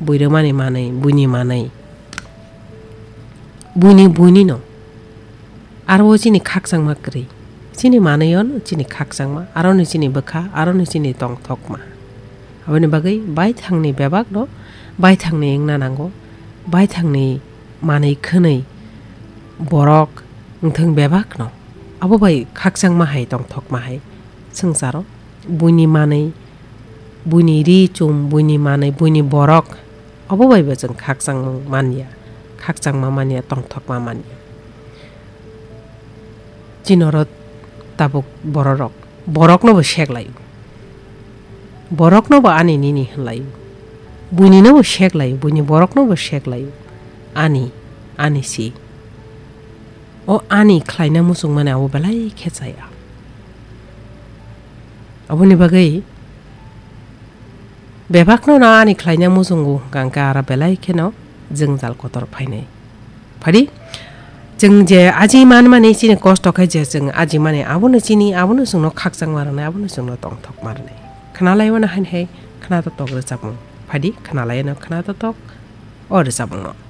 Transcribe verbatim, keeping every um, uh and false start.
Buirumani manwi, buini manwi. Buini, buini no. Aro o chini khakchangma kwrwi. Chini manwi o no chini khakchangma, aro ni chini bwkha, aro ni chini tongthokma. Aboni bagwi baithangni bebak no baithangni wngna nango, baithangni manwi khwnwi borok wngthang bebak no. Abo bai khakchangma hai tongthokma hai swngcharo buini manwi, buini ri chum, buini manwi, buini borok, obo bai bo chwng khakchangmung manya, khakchangma manya, tongthokma manya. Chini oro tabuk bororok, borokno bo sek laio. Borokno bo ani nini hwn laio. Buini no bo sek laio, buini borokno bo sek laio. Ani, ani si. O ani khlaina muchungmani abo belai khe chaya. Aboni bagwi bebakno no ani khlaina muchungo hwnkha hwnkhe aro belai kheno jwngjal kotor phainai. Phadi, chwng je aji manmani chini kosto khe je chwng aji mani abono chini, abono chwngno khakchangma rwnai, abono chwngno tongthokma rwnai. Khwnalaiwano haini hai khwnatok rwchapmung. Phadi, khwnalaino khwnatok o rwchapmungno.